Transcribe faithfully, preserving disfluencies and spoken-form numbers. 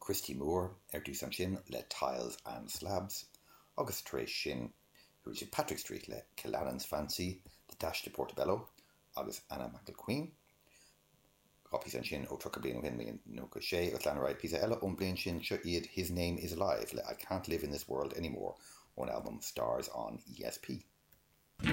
Christy Moore ar dtús ansin le Tiles and Slabs agus tar éis sin chuaigh sé Patrick Street le Killanen's Fancy, The Dash to Portobello agus Anna McLaughlin. Dhá phíosa ansin ó tríocha bliain ó shin nócha sé agus lean ar aghaidh píosa eile ón bliain sin seo iad His Name is Alive le I Can't Live in This World Anymore ón album Stars on ESP.